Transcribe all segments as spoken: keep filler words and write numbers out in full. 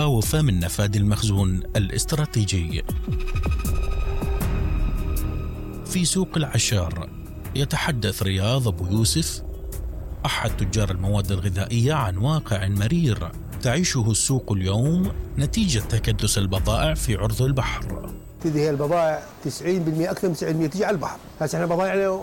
مخاوف من نفاذ المخزون الاستراتيجي. في سوق العشار يتحدث رياض أبو يوسف أحد تجار المواد الغذائية عن واقع مرير تعيشه السوق اليوم نتيجة تكدس البضائع في عرض البحر. تدي هي البضائع تسعين بالمئة أكثر من تسعين بالمئة تجي على البحر. هسه احنا بضائعنا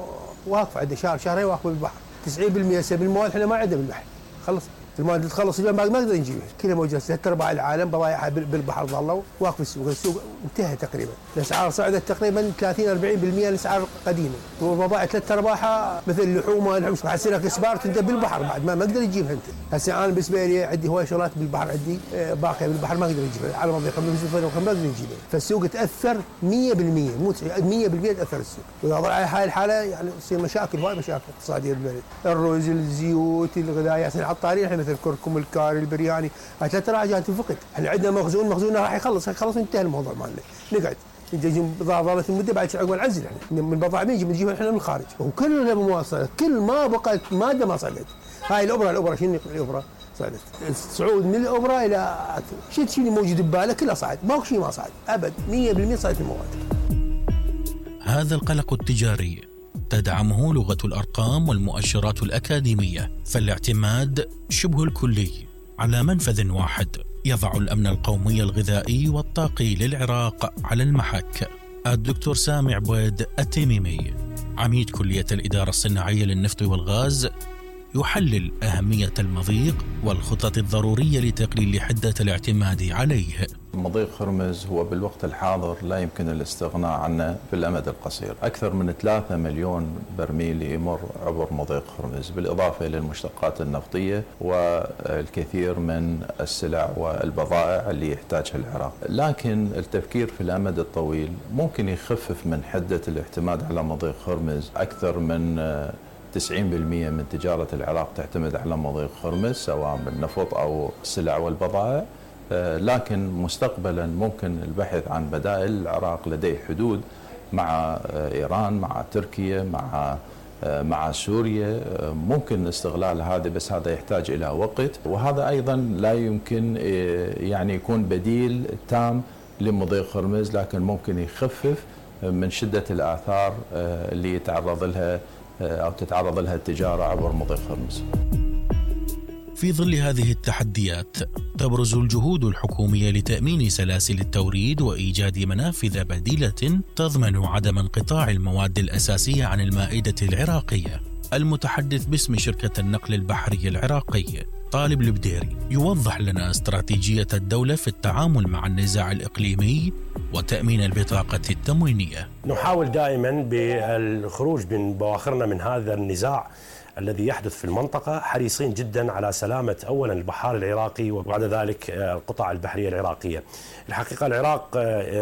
واقفة عندنا شهر شهرين واقفة بالبحر. تسعين بالمئة هسه بالمواد احنا ما عندنا بالبحر. خلص المواد اللي تخلص اليوم ما نقدر نجيبها، كلها موجودة. ثلاث أرباع العالم بضائعها بالبحر ظلوا واقف السوق، السوق انتهى تقريبا. الأسعار صعدت تقريبا ثلاثين أربعين بالمئة الأسعار قديمة، والبضائع ثلاث أرباعها مثل اللحوم والحمص حسي لك إسبار انت بالبحر بعد ما ما اقدر اجيبها انت. هسه انا بالنسبة لي عندي هواي شغلات بالبحر، عندي باقية بالبحر ما اقدر اجيبها على مضيق خمسة ما اقدر نجيبها، فالسوق تأثر مئة بالمئة مو مئة بالمئة تأثر السوق، وإذا ضل على هاي الحالة يعني تصير مشاكل هواي مشاكل اقتصادية بالبلد. الرز الزيوت الغذائيات العطارين احنا مثل كركم الكاري البرياني هاي ثلاث راجعات تنفقد. احنا عندنا مخزون مخزوننا راح يخلص خلص انتهى الموضوع مالنا. نقعد نجي ظلت المده بعد عقب نعزل احنا من البضائع نجي بنجيبها احنا من الخارج وكلها مواصله، كل ما بقت ماده ما صعدت. هاي الابره الابره شنو الابره صعدت، الصعود من الابره الى شيء شيء موجود ببالك كله صعد، ماكو شيء ما صعد ابد، مئة بالمئة صعدت المواد. هذا القلق التجاري تدعمه لغة الأرقام والمؤشرات الأكاديمية، فالاعتماد شبه الكلي على منفذ واحد يضع الأمن القومي الغذائي والطاقي للعراق على المحك. الدكتور سامع بويد التميمي عميد كلية الإدارة الصناعية للنفط والغاز يحلل أهمية المضيق والخطط الضرورية لتقليل حدة الاعتماد عليه. مضيق هرمز هو بالوقت الحاضر لا يمكن الاستغناء عنه في الأمد القصير. أكثر من ثلاثة مليون برميل يمر عبر مضيق هرمز، بالإضافة إلى المشتقات النفطية والكثير من السلع والبضائع اللي يحتاجها العراق. لكن التفكير في الأمد الطويل ممكن يخفف من حدة الاعتماد على مضيق هرمز. أكثر من تسعين بالمئة من تجارة العراق تعتمد على مضيق هرمز سواء بالنفط أو السلع والبضائع، لكن مستقبلا ممكن البحث عن بدائل. العراق لديه حدود مع إيران مع تركيا مع مع سوريا، ممكن استغلال هذا بس هذا يحتاج إلى وقت، وهذا أيضا لا يمكن يعني يكون بديل تام لمضيق هرمز، لكن ممكن يخفف من شدة الآثار اللي يتعرض لها أو تتعرض لها التجارة عبر مضيق هرمز. في ظل هذه التحديات تبرز الجهود الحكومية لتأمين سلاسل التوريد وإيجاد منافذ بديلة تضمن عدم انقطاع المواد الأساسية عن المائدة العراقية. المتحدث باسم شركة النقل البحري العراقي طالب البديري يوضح لنا استراتيجية الدولة في التعامل مع النزاع الإقليمي وتأمين البطاقة التموينية. نحاول دائما بالخروج من بواخرنا من هذا النزاع الذي يحدث في المنطقة، حريصين جدا على سلامة أولا البحار العراقي وبعد ذلك القطع البحرية العراقية. الحقيقة العراق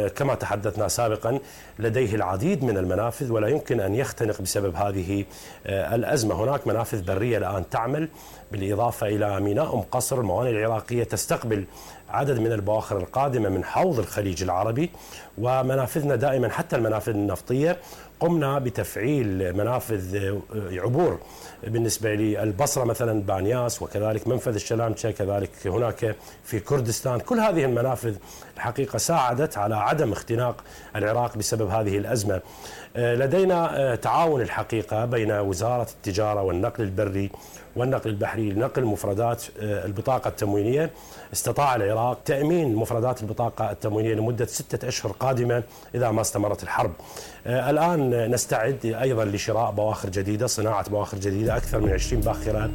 كما تحدثنا سابقا لديه العديد من المنافذ ولا يمكن أن يختنق بسبب هذه الأزمة. هناك منافذ برية الآن تعمل، بالإضافة إلى ميناء أم قصر. الموانئ العراقية تستقبل عدد من البواخر القادمة من حوض الخليج العربي، ومنافذنا دائما حتى المنافذ النفطية قمنا بتفعيل منافذ عبور بالنسبة للبصرة مثلا بانياس، وكذلك منفذ الشلامشة، كذلك هناك في كردستان. كل هذه المنافذ الحقيقة ساعدت على عدم اختناق العراق بسبب هذه الأزمة. لدينا تعاون الحقيقة بين وزارة التجارة والنقل البري والنقل البحري لنقل مفردات البطاقة التموينية. استطاع العراق تأمين مفردات البطاقة التموينية لمدة ستة أشهر قادمة إذا ما استمرت الحرب. الآن نستعد أيضا لشراء بواخر جديدة، صناعة بواخر جديدة، أكثر من عشرين باخرة.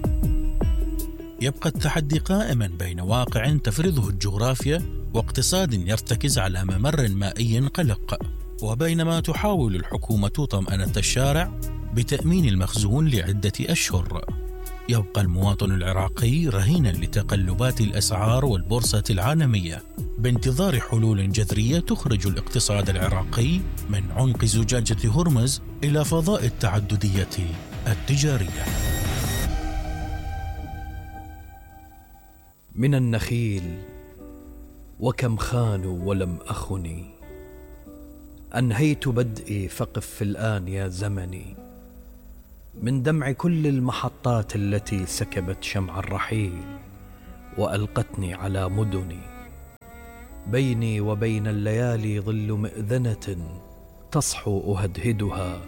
يبقى التحدي قائما بين واقع تفرضه الجغرافيا واقتصاد يرتكز على ممر مائي قلق، وبينما تحاول الحكومة طمأنة الشارع بتأمين المخزون لعدة أشهر. يبقى المواطن العراقي رهينا لتقلبات الأسعار والبورصة العالمية بانتظار حلول جذرية تخرج الاقتصاد العراقي من عنق زجاجة هرمز إلى فضاء التعددية التجارية. من النخيل وكم خانوا ولم أخني، أنهيت بدئي فقف الآن يا زمني، من دمع كل المحطات التي سكبت شمع الرحيل وألقتني على مدني. بيني وبين الليالي ظل مئذنة تصحو أهدهدها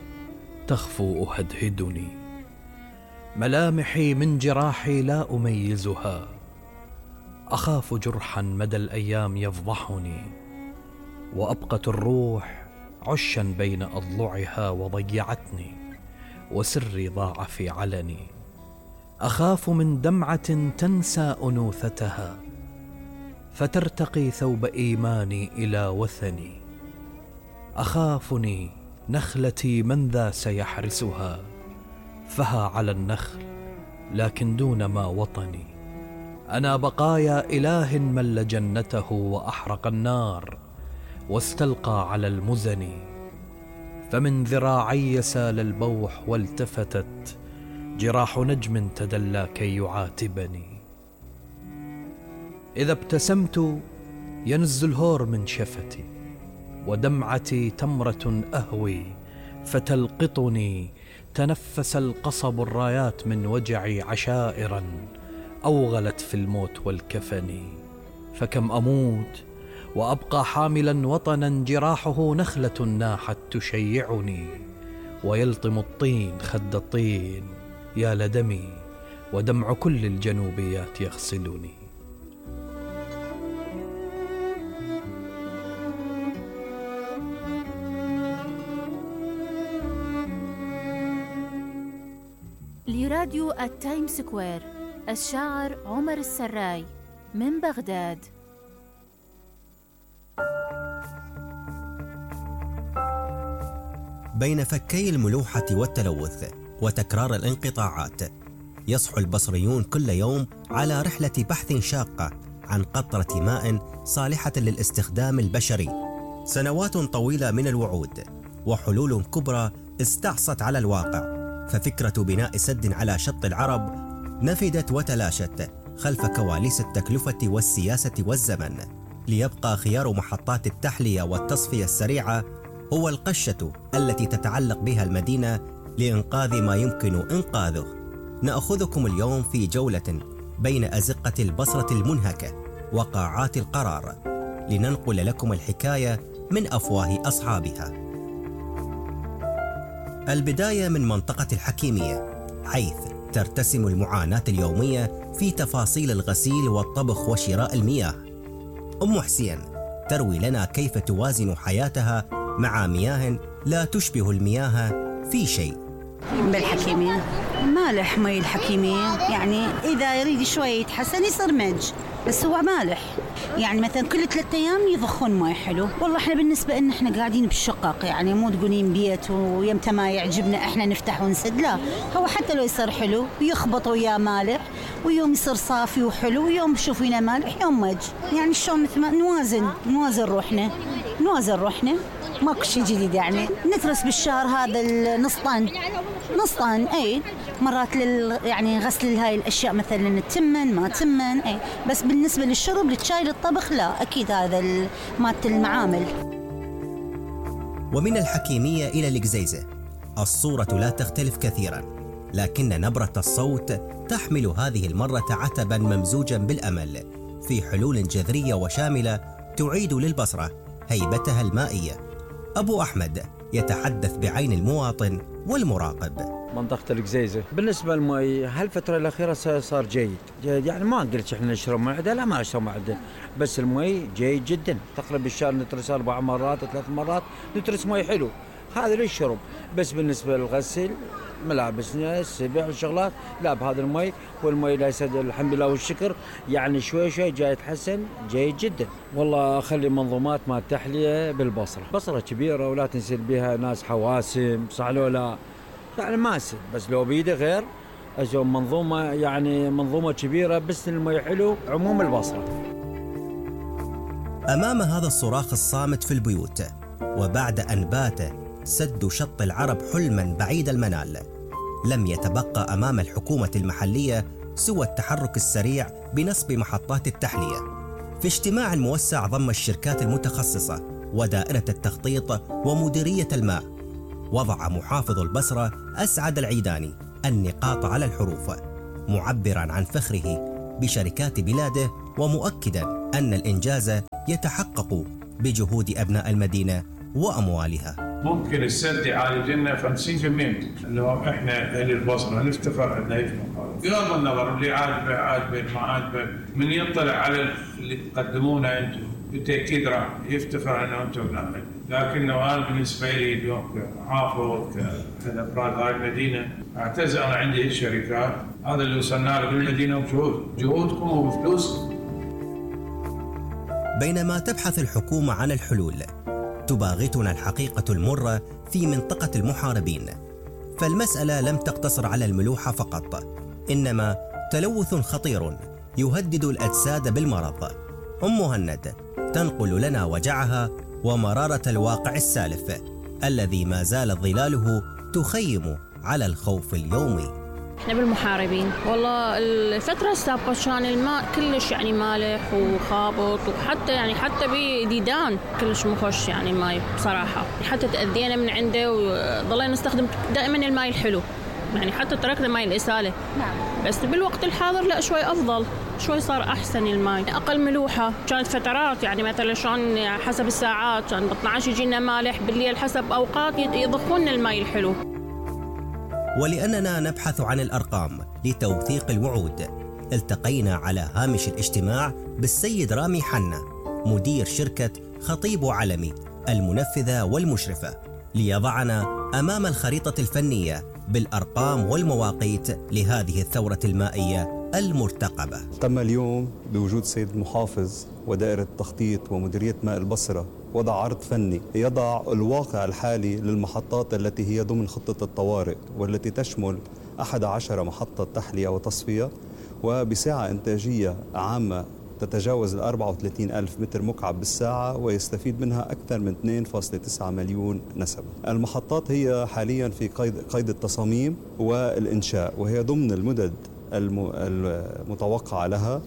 تخفو أهدهدني. ملامحي من جراحي لا أميزها، أخاف جرحا مدى الأيام يفضحني. وأبقت الروح عشا بين أضلعها وضيعتني، وسري ضاع في علني. أخاف من دمعة تنسى أنوثتها فترتقي ثوب إيماني إلى وثني. أخافني نخلتي من ذا سيحرسها، فها على النخل لكن دون ما وطني. أنا بقايا إله مل جنته وأحرق النار واستلقى على المزن. فمن ذراعي سال البوح والتفتت جراح نجم تدلى كي يعاتبني. إذا ابتسمت ينز الهور من شفتي، ودمعتي تمرة أهوي فتلقطني. تنفس القصب الرايات من وجعي عشائرا أوغلت في الموت والكفن. فكم أموت وأبقى حاملا وطنا جراحه نخلة ناحت تشيعني. ويلطم الطين خد الطين يا لدمي، ودمع كل الجنوبيات يغسلني. لراديو التايم سكوير، الشاعر عمر السراي من بغداد. بين فكي الملوحة والتلوث وتكرار الانقطاعات، يصحو البصريون كل يوم على رحلة بحث شاقة عن قطرة ماء صالحة للاستخدام البشري. سنوات طويلة من الوعود وحلول كبرى استعصت على الواقع، ففكرة بناء سد على شط العرب نفدت وتلاشت خلف كواليس التكلفة والسياسة والزمن، ليبقى خيار محطات التحلية والتصفية السريعة هو القشة التي تتعلق بها المدينة لإنقاذ ما يمكن إنقاذه. نأخذكم اليوم في جولة بين أزقة البصرة المنهكة وقاعات القرار، لننقل لكم الحكاية من أفواه أصحابها. البداية من منطقة الحكيمية، حيث ترتسم المعاناة اليومية في تفاصيل الغسيل والطبخ وشراء المياه. أم حسين تروي لنا كيف توازن حياتها مع مياه لا تشبه المياه في شيء. بالحكيمية مالح مي الحكيمية، يعني إذا يريد شوي يتحسن يصير مج، بس هو مالح. يعني مثلا كل ثلاثة أيام يضخون مي حلو. والله إحنا بالنسبة إن إحنا قاعدين بالشقق، يعني مو تقولين بيت ويمتى ما يعجبنا إحنا نفتح ونسد، لا، هو حتى لو يصير حلو يخبط وياه مالح، ويوم يصير صافي وحلو، ويوم شوفينا مالح يوم مج. يعني شلون مثل ما نوازن نوازن روحنا نوازن روحنا ماكو شيء جديد. يعني نترس بالشهر هذا النص طن نص طن اي مرات لل يعني غسل هاي الاشياء مثلا تمن ما تمن اي، بس بالنسبه للشرب للشاي للطبخ لا، اكيد هذا مالت المعامل. ومن الحكيميه الى القزيزه الصوره لا تختلف كثيرا، لكن نبره الصوت تحمل هذه المره عتبا ممزوجا بالامل في حلول جذريه وشامله تعيد للبصره هيبتها المائيه. أبو أحمد يتحدث بعين المواطن والمراقب. منطقة القزيزة بالنسبة للمي هالفترة الأخيرة صار جيد جيد، يعني ما قلت إحنا نشرب معدة، لا ما نشرب معدة، بس المي جيد جدا. تقريبا بالشهر نترس أربع مرات ثلاث مرات نترس مي حلو، هذا للشرب. بس بالنسبة للغسل ملابسنا السبع والشغلات لا بهذا المي، والمي لا يسد الحمد لله والشكر، يعني شوي شوي جاي يتحسن جيد جدا. والله أخلي منظومات مال تحلية بالبصرة، بصرة كبيرة ولا تنسل بها ناس حواسم صح لو لا، يعني ما يصير، بس لو بيده غير أجو منظومة، يعني منظومة كبيرة بس المي حلو عموم البصرة. أمام هذا الصراخ الصامت في البيوت، وبعد أن بات سد شط العرب حلما بعيد المنال، لم يتبقى أمام الحكومة المحلية سوى التحرك السريع بنصب محطات التحلية. في اجتماع موسع ضم الشركات المتخصصة ودائرة التخطيط ومديرية الماء، وضع محافظ البصرة أسعد العيداني النقاط على الحروف، معبرا عن فخره بشركات بلاده ومؤكدا أن الإنجاز يتحقق بجهود أبناء المدينة وأموالها. ممكن السد يعالج لنا خمسين بالمئة لو احنا اهل البصره نفتخر انه يجمع بغض النظر اللي عاجبه عاجبه ما عاجبه، من يطلع على اللي تقدمونه انتم بالتاكيد راح يفتخر انه انتم نعمل. لكنه انا بالنسبه لي اليوم كمحافظ كافراد هاي المدينه اعتز انا عندي الشركات، هذا اللي وصلنا له بالمدينه بجهود جهودكم وبفلوسكم. بينما تبحث الحكومه عن الحلول، تباغتنا الحقيقة المرة في منطقة المحاربين، فالمسألة لم تقتصر على الملوحة فقط، إنما تلوث خطير يهدد الأجساد بالمرض. أم مهند تنقل لنا وجعها ومرارة الواقع السالف الذي ما زالت ظلاله تخيم على الخوف اليومي. احنا بالمحاربين والله الفترة السابقة كان الماء كلش يعني مالح وخابط، وحتى يعني حتى بديدان كلش مخش يعني الماء بصراحة، حتى تأذينا من عنده وضلينا نستخدم دائما الماء الحلو، يعني حتى تركنا ماء الإسالة. نعم. بس بالوقت الحاضر لا شوي أفضل، شوي صار أحسن الماء، أقل ملوحة. كانت فترات يعني مثلا شلون حسب الساعات كان ب اثنا عشر يجينا مالح، بالليل حسب أوقات يضخون الماء الحلو. ولأننا نبحث عن الأرقام لتوثيق الوعود، التقينا على هامش الاجتماع بالسيد رامي حنا مدير شركة خطيب علمي المنفذة والمشرفة، ليضعنا أمام الخريطة الفنية بالأرقام والمواقيت لهذه الثورة المائية المرتقبة. تم اليوم بوجود السيد المحافظ ودائرة التخطيط ومديرية ماء البصرة وضع عرض فني يضع الواقع الحالي للمحطات التي هي ضمن خطة الطوارئ، والتي تشمل أحد عشر محطة تحلية وتصفية وبسعة إنتاجية عامة تتجاوز ال أربعة وثلاثين ألف متر مكعب بالساعة، ويستفيد منها أكثر من اثنين فاصلة تسعة مليون نسمة. المحطات هي حاليا في قيد, قيد التصاميم والإنشاء، وهي ضمن المدد المتوقعة لها،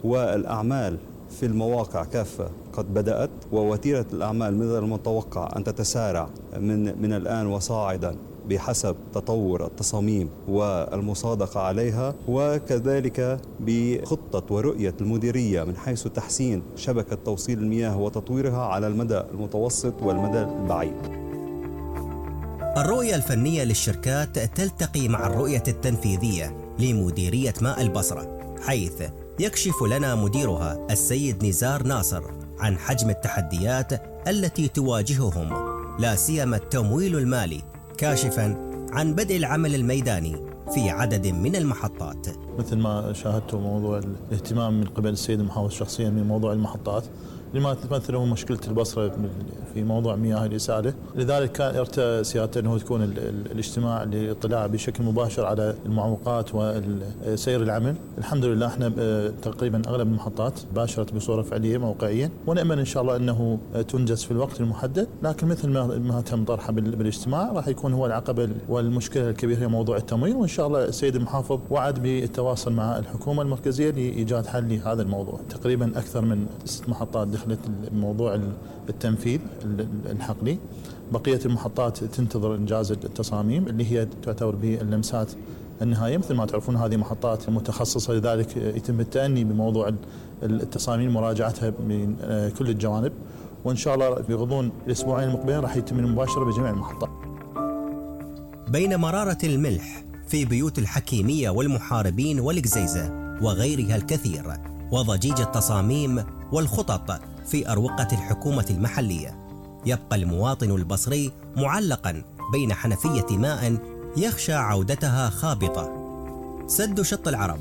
والأعمال في المواقع كافة قد بدأت، ووتيرة الأعمال من المتوقع أن تتسارع من من الآن وصاعدا بحسب تطور التصاميم والمصادقة عليها، وكذلك بخطة ورؤية المديرية من حيث تحسين شبكة توصيل المياه وتطويرها على المدى المتوسط والمدى البعيد. الرؤية الفنية للشركات تلتقي مع الرؤية التنفيذية لمديرية ماء البصرة، حيث يكشف لنا مديرها السيد نزار ناصر عن حجم التحديات التي تواجههم، لا سيما التمويل المالي، كاشفاً عن بدء العمل الميداني في عدد من المحطات. مثل ما شاهدتوا موضوع الاهتمام من قبل السيد المحافظ شخصياً من موضوع المحطات لما تمثل هو مشكلة البصرة في موضوع مياه الإسالة، لذلك كان ارتأى سيادته أنه تكون الاجتماع للاطلاع بشكل مباشر على المعوقات وسير العمل. الحمد لله احنا تقريبا أغلب المحطات باشرت بصورة فعلية موقعيا، ونأمل إن شاء الله أنه تنجز في الوقت المحدد، لكن مثل ما تم طرحه بالاجتماع راح يكون هو العقبة والمشكلة الكبيرة هي موضوع التمويل، وإن شاء الله السيد المحافظ وعد بالتواصل مع الحكومة المركزية لإيجاد حل لهذا الموضوع. تقريبا أكثر من ست محطات دخلت موضوع التنفيذ الحقلي، بقية المحطات تنتظر إنجاز التصاميم اللي هي تعتبر باللمسات النهائية. مثل ما تعرفون هذه محطات متخصصة، لذلك يتم التأني بموضوع التصاميم مراجعتها من كل الجوانب، وإن شاء الله بغضون الأسبوعين المقبلين راح يتم المباشرة بجميع المحطات. بين مرارة الملح في بيوت الحكيمية والمحاربين والقزيزة وغيرها الكثير، وضجيج التصاميم والخطط في أروقة الحكومة المحلية، يبقى المواطن البصري معلقا بين حنفية ماء يخشى عودتها خابطة. سد شط العرب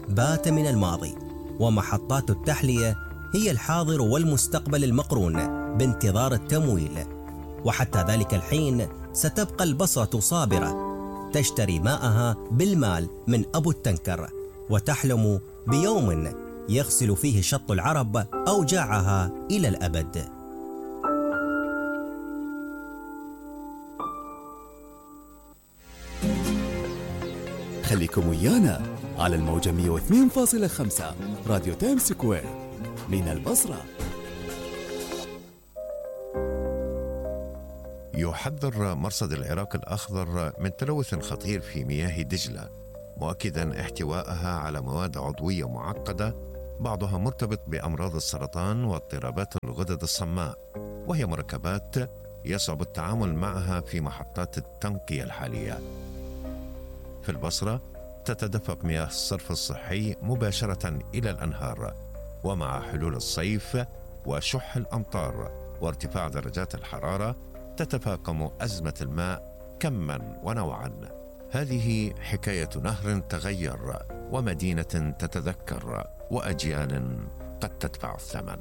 بات من الماضي، ومحطات التحلية هي الحاضر والمستقبل المقرون بانتظار التمويل، وحتى ذلك الحين ستبقى البصرة صابرة تشتري ماءها بالمال من أبو التنكر، وتحلم بيوم يغسل فيه شط العرب أوجاعها إلى الأبد. خليكم ويانا على الموجة مئة واثنين فاصلة خمسة راديو تايم سكوير من البصرة. يحذر مرصد العراق الأخضر من تلوث خطير في مياه دجلة، مؤكدا احتوائها على مواد عضوية معقدة بعضها مرتبط بأمراض السرطان واضطرابات الغدد الصماء، وهي مركبات يصعب التعامل معها في محطات التنقية الحالية. في البصرة تتدفق مياه الصرف الصحي مباشرة إلى الأنهار، ومع حلول الصيف وشح الأمطار وارتفاع درجات الحرارة تتفاقم أزمة الماء كماً ونوعاً. هذه حكاية نهر تغير ومدينة تتذكر وأجيال قد تدفع الثمن.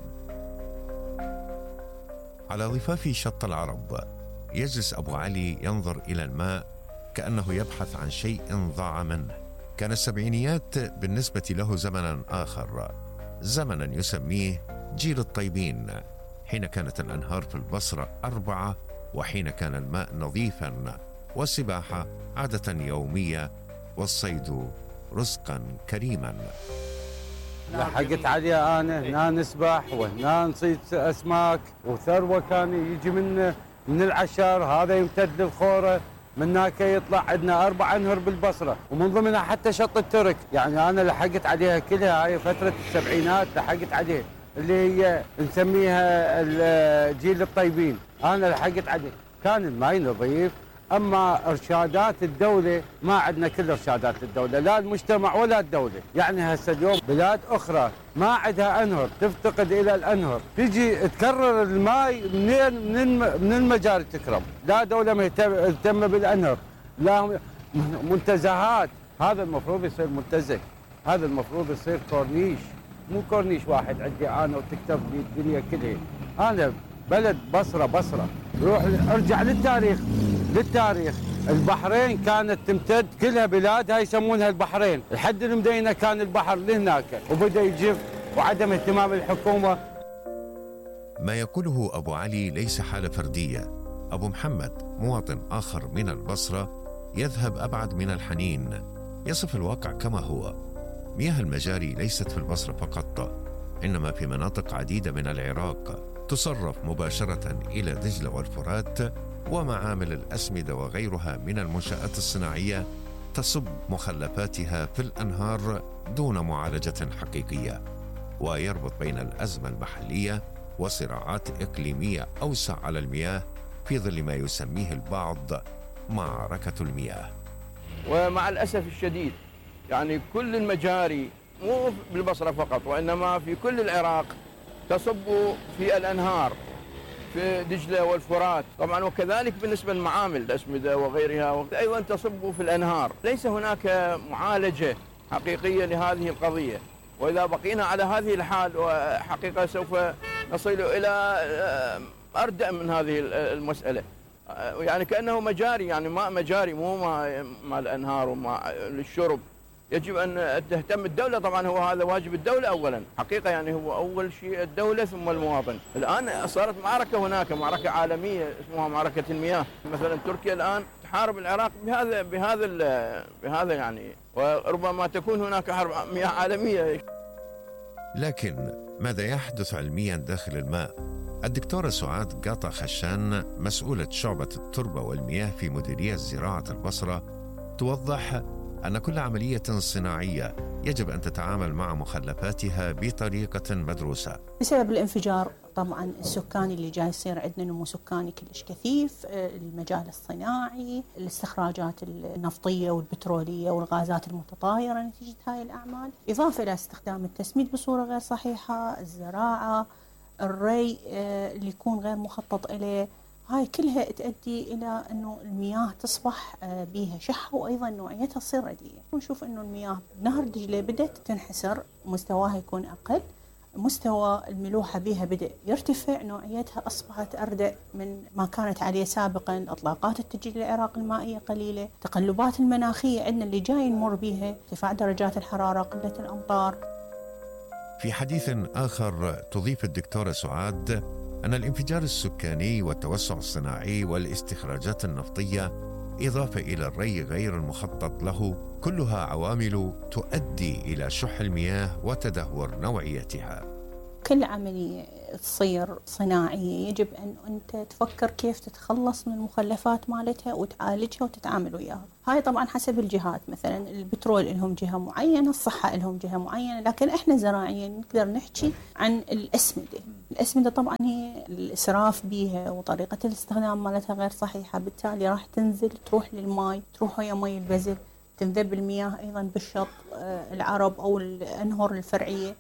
على ضفاف شط العرب يجلس أبو علي ينظر إلى الماء كأنه يبحث عن شيء ضاع منه. كان السبعينيات بالنسبة له زمناً آخر، زمناً يسميه جيل الطيبين، حين كانت الأنهار في البصرة أربعة، وحين كان الماء نظيفاً والسباحة عادة يومية والصيد رزقاً كريماً. لحقت عليها أنا هنا نسبح وهنا نصيد أسماك، وثروة كان يجي من من العشر، هذا يمتد للخورة، من هناك يطلع عندنا أربع أنهر بالبصرة، ومن ضمنها حتى شط الترك. يعني أنا لحقت عليها كلها، هاي فترة السبعينات لحقت عليها، اللي هي نسميها جيل الطيبين. أنا لحقت عليه، كان الماي نظيف. أما إرشادات الدولة ما عندنا كل إرشادات الدولة، لا المجتمع ولا الدولة. يعني هسه اليوم بلاد أخرى ما عندها أنهر، تفتقد إلى الأنهر، تجي تكرر الماء منين من من المجاري تكرم. لا دولة مهتمة بالأنهر، لا منتزهات. هذا المفروض يصير منتزه، هذا المفروض يصير كورنيش، مو كورنيش واحد عندي أنا وتكتب لي الدنيا كلها. أنا بلد بصرة بصرة، روح ارجع للتاريخ للتاريخ البحرين كانت تمتد كلها بلاد، هاي يسمونها البحرين. لحد المدينة كان البحر لهناك وبدأ يجف وعدم اهتمام الحكومة. ما يقوله أبو علي ليس حالة فردية. أبو محمد مواطن آخر من البصرة يذهب أبعد من الحنين، يصف الواقع كما هو. مياه المجاري ليست في البصرة فقط، إنما في مناطق عديدة من العراق تصرف مباشرة إلى دجلة والفرات، ومعامل الأسمدة وغيرها من المنشآت الصناعية تصب مخلفاتها في الأنهار دون معالجة حقيقية. ويربط بين الأزمة المحلية وصراعات إقليمية أوسع على المياه في ظل ما يسميه البعض معركة المياه. ومع الأسف الشديد يعني كل المجاري مو بالبصرة فقط وإنما في كل العراق تصب في الأنهار، في دجلة والفرات طبعا، وكذلك بالنسبة للمعامل الأسمدة وغيرها أيضا تصب في الأنهار. ليس هناك معالجة حقيقية لهذه القضية، وإذا بقينا على هذه الحال وحقيقة سوف نصل إلى أردأ من هذه المسألة. يعني كأنه مجاري، يعني ماء مجاري مو ماء ماء الأنهار وماء للشرب. يجب أن تهتم الدولة، طبعا هو هذا واجب الدولة أولا حقيقة، يعني هو أول شيء الدولة ثم المواطن. الآن صارت معركة هناك، معركة عالمية اسمها معركة المياه. مثلا تركيا الآن تحارب العراق بهذا بهذا بهذا يعني، وربما تكون هناك حرب مياه عالمية. لكن ماذا يحدث علميا داخل الماء؟ الدكتورة سعاد قاطع خشان مسؤولة شعبة التربة والمياه في مديرية زراعة البصرة توضح أن كل عملية صناعية يجب أن تتعامل مع مخلفاتها بطريقة مدروسة. بسبب الانفجار طبعا السكاني اللي جاي يصير عندنا نمو سكاني كلش كثيف، المجال الصناعي، الاستخراجات النفطية والبترولية والغازات المتطايرة نتيجة هاي الأعمال، إضافة إلى استخدام التسميد بصورة غير صحيحة، الزراعة، الري اللي يكون غير مخطط إليه، هاي كلها تؤدي إلى أنه المياه تصبح بيها شحة، وأيضا نوعيتها تصير رديئة. ونشوف أنه المياه بنهر دجلة بدأت تنحسر، مستواها يكون أقل، مستوى الملوحة بها بدأ يرتفع، نوعيتها أصبحت أردأ من ما كانت عليه سابقا، إطلاقات التجديد العراق المائية قليلة، تقلبات المناخية عندنا اللي جاي نمر بها، ارتفاع درجات الحرارة، قلة الأمطار. في حديث آخر تضيف الدكتورة سعاد أن الانفجار السكاني والتوسع الصناعي والاستخراجات النفطية إضافة إلى الري غير المخطط له كلها عوامل تؤدي إلى شح المياه وتدهور نوعيتها. كل عملية تصير صناعية يجب أن أنت تفكر كيف تتخلص من المخلفات مالتها وتعالجها وتتعامل وياها. هاي طبعا حسب الجهات، مثلا البترول لهم جهة معينة، الصحة لهم جهة معينة، لكن احنا زراعيا نقدر نحكي عن الأسمدة. الأسمدة طبعا هي الإسراف بيها وطريقة الاستخدام مالتها غير صحيحة، بالتالي راح تنزل تروح للماء، تروح ويا مي البزل، تنذب المياه أيضا بالشط العرب أو الأنهر الفرعية.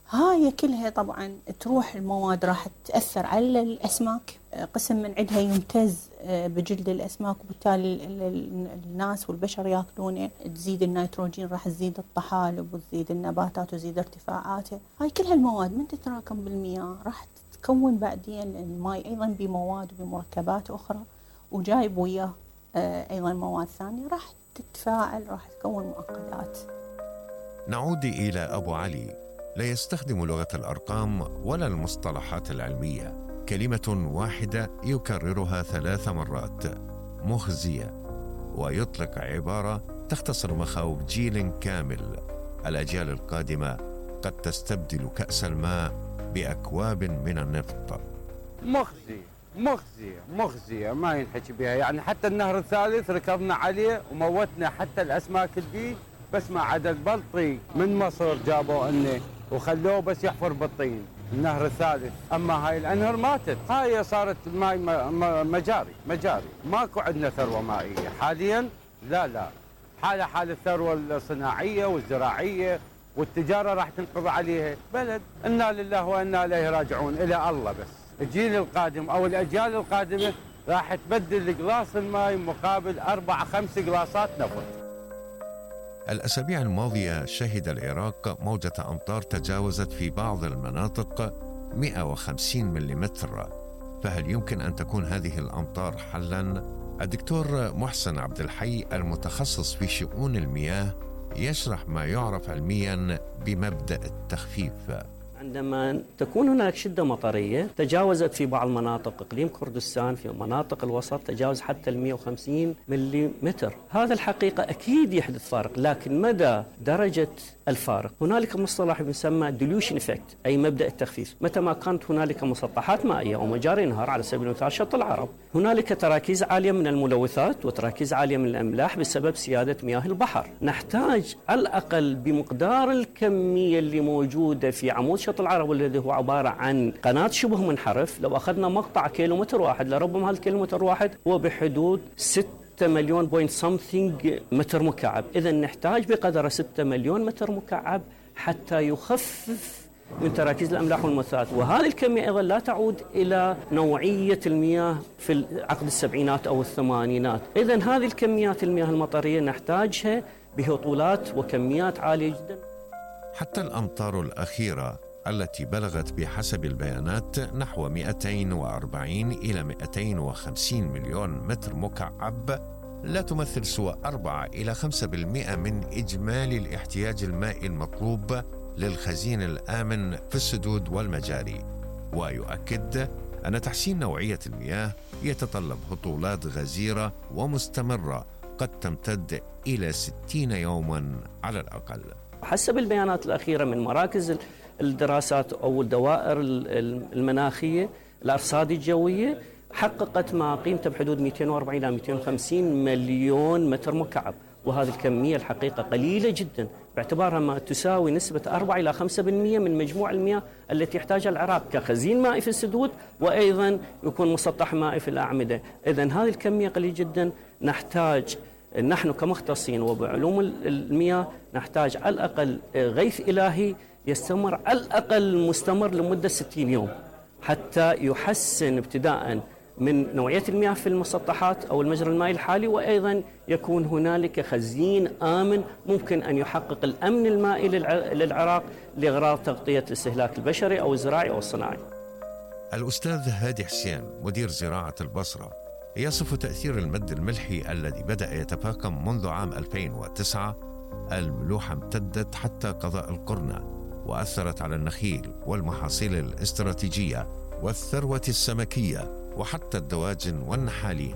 هاي كلها طبعا تروح المواد راح تأثر على الأسماك، قسم من عندها يمتز بجلد الأسماك، وبالتالي الناس والبشر ياكلونه، تزيد النيتروجين، راح تزيد الطحالب وتزيد النباتات وتزيد ارتفاعاته. هاي كلها المواد من تتراكم بالمياه راح تكون بعدين الماء أيضا بمواد وبمركبات أخرى، وجايب وياه أيضا مواد ثانية راح تتفاعل، راح تكون معقدات. نعود إلى أبو علي. لا يستخدم لغة الأرقام ولا المصطلحات العلمية، كلمة واحدة يكررها ثلاث مرات: مخزية، ويطلق عبارة تختصر مخاوف جيل كامل. الأجيال القادمة قد تستبدل كأس الماء بأكواب من النفط. مخزية مخزية مخزية ما ينحكي بها، يعني حتى النهر الثالث ركضنا عليه وموتنا حتى الأسماك البي، بس ما عدا البلطي من مصر جابوا انه وخلوه بس يحفر بالطين النهر الثالث. اما هاي الانهر ماتت، هاي صارت الماء مجاري مجاري، ماكو عندنا ثروه مائيه حاليا. لا لا حالة حال الثروه الصناعيه والزراعيه والتجاره راح تنقضي عليها بلد. انا لله وانا اليه راجعون، الى الله. بس الجيل القادم او الاجيال القادمه راح تبدل قلاص الماء مقابل اربع خمس قلاصات نفط. الأسابيع الماضية شهد العراق موجة أمطار تجاوزت في بعض المناطق مئة وخمسين ملم. فهل يمكن أن تكون هذه الأمطار حلاً؟ الدكتور محسن عبد الحي المتخصص في شؤون المياه يشرح ما يعرف علمياً بمبدأ التخفيف. عندما تكون هناك شدة مطرية تجاوزت في بعض مناطق إقليم كردستان، في مناطق الوسط تجاوز حتى ال مئة وخمسين ملم، هذا الحقيقة أكيد يحدث فارق، لكن مدى درجة الفارق هنالك مصطلح يسمى dilution effect، أي مبدأ التخفيف. متى ما كانت هنالك مسطحات مائية أو مجاري نهر، على سبيل المثال شط العرب، هنالك تراكيز عالية من الملوثات وتراكيز عالية من الأملاح بسبب سيادة مياه البحر. نحتاج على الأقل بمقدار الكمية اللي موجودة في عمود شط العرب الذي هو عبارة عن قناة شبه منحرف، لو أخذنا مقطع كيلومتر واحد، لربما هالكيلومتر واحد هو بحدود ستة مليون بوينت سمثينج متر مكعب. إذا نحتاج بقدر ستة مليون متر مكعب حتى يخفف من تراكيز الأملاح والملوثات، وهذه الكمية أيضا لا تعود إلى نوعية المياه في عقد السبعينات أو الثمانينات. إذا هذه الكميات المياه المطرية نحتاجها بهطولات وكميات عالية جدا. حتى الأمطار الأخيرة التي بلغت بحسب البيانات نحو مئتين وأربعين إلى مئتين وخمسين مليون متر مكعب لا تمثل سوى أربعة إلى خمسة بالمئة من إجمالي الاحتياج المائي المطلوب للخزين الآمن في السدود والمجاري. ويؤكد أن تحسين نوعية المياه يتطلب هطولات غزيرة ومستمرة قد تمتد إلى ستين يوما على الأقل. حسب البيانات الأخيرة من مراكز الدراسات أو الدوائر المناخية الأرصاد الجوية، حققت ما قيمته بحدود مئتين وأربعين إلى مئتين وخمسين مليون متر مكعب، وهذه الكمية الحقيقة قليلة جدا باعتبارها ما تساوي نسبة أربعة إلى خمسة بالمئة من مجموع المياه التي يحتاجها العراق كخزين مائي في السدود، وأيضا يكون مسطح مائي في الأعمدة. إذن هذه الكمية قليلة جدا. نحتاج نحن كمختصين وبعلوم المياه نحتاج على الأقل غيث إلهي يستمر على الأقل مستمر لمدة ستين يوم حتى يحسن ابتداء من نوعية المياه في المسطحات أو المجرى المائي الحالي، وأيضا يكون هنالك خزين آمن ممكن أن يحقق الأمن المائي للعراق لأغراض تغطية الاستهلاك البشري أو الزراعي أو الصناعي. الأستاذ هادي حسين مدير زراعة البصرة يصف تأثير المد الملحي الذي بدأ يتفاقم منذ عام ألفين وتسعة. الملوحة امتدت حتى قضاء القرنة وأثرت على النخيل والمحاصيل الاستراتيجية والثروة السمكية وحتى الدواجن والنحالين.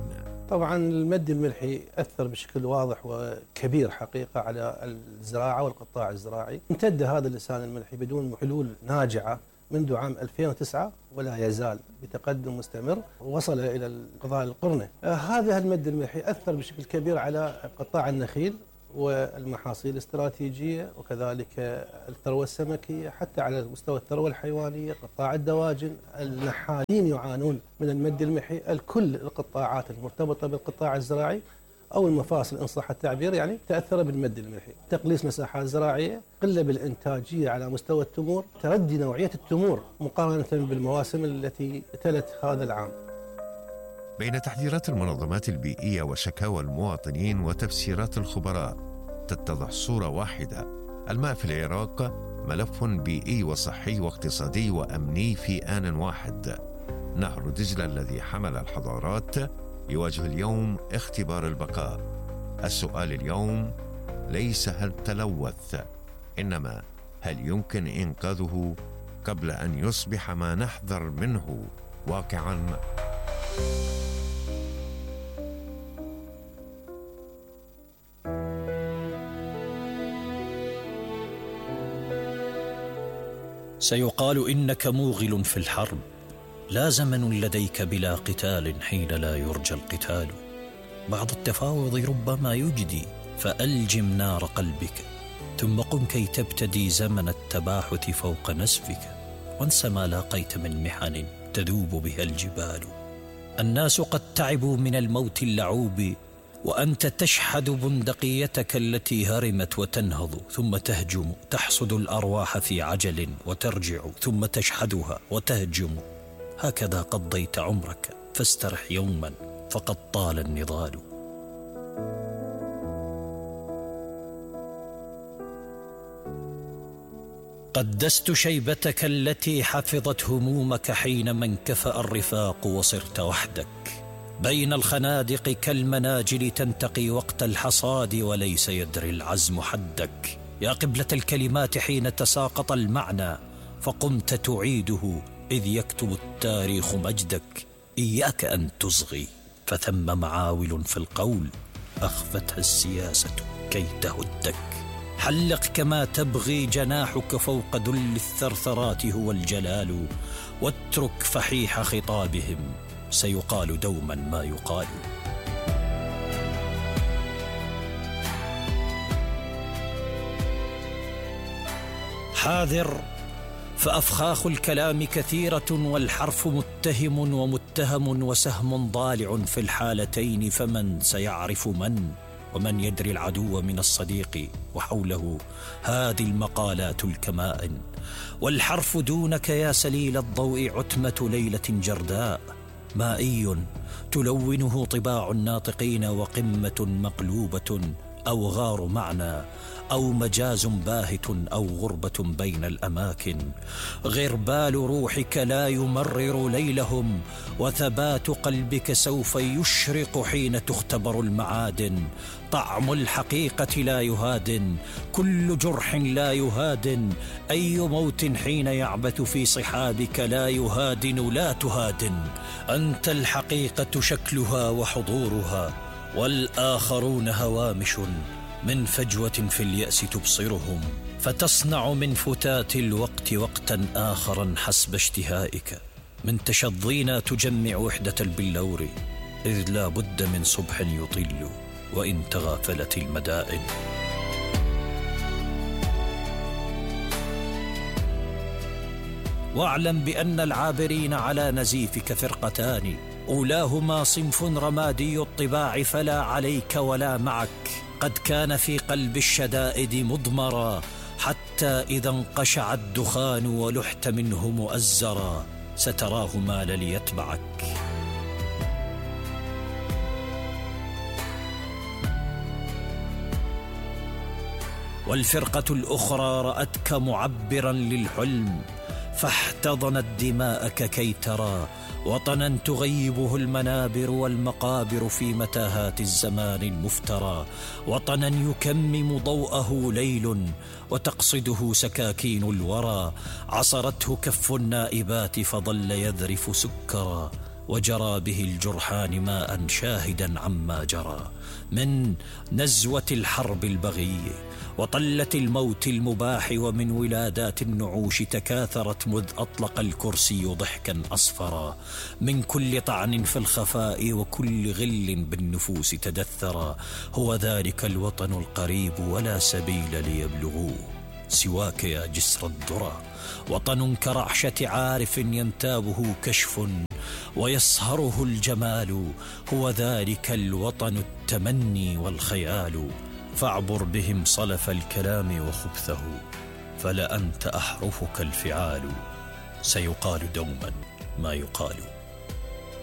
طبعا المد الملحي أثر بشكل واضح وكبير حقيقة على الزراعة والقطاع الزراعي. امتد هذا اللسان الملحي بدون حلول ناجعة منذ عام ألفين وتسعة ولا يزال بتقدم مستمر، وصل إلى قضاء القرنة. هذا المد الملحي أثر بشكل كبير على قطاع النخيل والمحاصيل الاستراتيجية، وكذلك الثروة السمكية، حتى على مستوى الثروة الحيوانية، قطاع الدواجن. النحالين يعانون من المد الملحي، الكل القطاعات المرتبطة بالقطاع الزراعي أو المفاصل إن صح التعبير يعني تأثر بالمد الملحي. تقليص مساحات زراعية، قلة بالإنتاجية على مستوى التمور، تردي نوعية التمور مقارنة بالمواسم التي تلت هذا العام. بين تحذيرات المنظمات البيئية وشكاوى المواطنين وتفسيرات الخبراء تتضح صورة واحدة: الماء في العراق ملف بيئي وصحي واقتصادي وأمني في آن واحد. نهر دجلة الذي حمل الحضارات يواجه اليوم اختبار البقاء. السؤال اليوم ليس هل تلوث، إنما هل يمكن إنقاذه قبل أن يصبح ما نحذر منه واقعاً؟ سيقال إنك موغل في الحرب، لا زمن لديك بلا قتال حين لا يرجى القتال. بعض التفاوض ربما يجدي، فألجم نار قلبك، ثم قم كي تبتدي زمن التباحث فوق نسفك، وانس ما لاقيت من محن تذوب بها الجبال. الناس قد تعبوا من الموت اللعوب، وأنت تشحذ بندقيتك التي هرمت وتنهض ثم تهجم، تحصد الأرواح في عجل وترجع ثم تشحذها وتهجم. هكذا قضيت عمرك، فاسترح يوما فقد طال النضال. قدست شيبتك التي حفظت همومك حينما انكفأ الرفاق وصرت وحدك، بين الخنادق كالمناجل تنتقي وقت الحصاد وليس يدري العزم حدك. يا قبلة الكلمات حين تساقط المعنى فقمت تعيده إذ يكتب التاريخ مجدك. إياك أن تصغي، فثم معاول في القول أخفتها السياسة كي تهدك. حلق كما تبغي، جناحك فوق ذل الثرثرات هو الجلال، واترك فحيح خطابهم، سيقال دوما ما يقال. حاذر، فأفخاخ الكلام كثيرة والحرف متهم ومتهم وسهم ضالع في الحالتين، فمن سيعرف من، ومن يدري العدو من الصديق، وحوله هذه المقالات الكمائن. والحرف دونك يا سليل الضوء عتمة ليلة جرداء، مائي تلونه طباع الناطقين، وقمة مقلوبة أو غار معنى أو مجاز باهت أو غربة بين الأماكن. غربال روحك لا يمرر ليلهم، وثبات قلبك سوف يشرق حين تختبر المعادن. طعم الحقيقة لا يهادن، كل جرح لا يهادن، أي موت حين يعبث في صحابك لا يهادن لا تهادن. أنت الحقيقة شكلها وحضورها، والآخرون هوامش من فجوة في اليأس تبصرهم، فتصنع من فتات الوقت وقتا آخرا حسب اشتهائك. من تشظينا تجمع وحدة البلور، إذ لا بد من صبح يطل وإن تغافلت المدائن. واعلم بأن العابرين على نزيفك فرقتان، أولاهما صنف رمادي الطباع فلا عليك ولا معك، قد كان في قلب الشدائد مضمرا، حتى إذا انقشع الدخان ولحت منه مؤزرا، ستراه مال ليتبعك. والفرقة الأخرى رأتك معبرا للحلم، فاحتضنت دماءك كي ترى وطنا تغيبه المنابر والمقابر في متاهات الزمان المفترى، وطنا يكمم ضوءه ليل وتقصده سكاكين الورى، عصرته كف النائبات فظل يذرف سكرا، وجرى به الجرحان ماء شاهدا عما جرى من نزوة الحرب البغية وطلة الموت المباح، ومن ولادات النعوش تكاثرت مذ أطلق الكرسي ضحكا أصفرا، من كل طعن في الخفاء وكل غل بالنفوس تدثرا. هو ذلك الوطن القريب ولا سبيل ليبلغوه سواك يا جسر الذرى، وطن كرعشة عارف ينتابه كشف ويصهره الجمال. هو ذلك الوطن التمني والخيال، فاعبر بهم صلف الكلام وخبثه، فلأنت أحرفك الفعال، سيقال دوما ما يقال.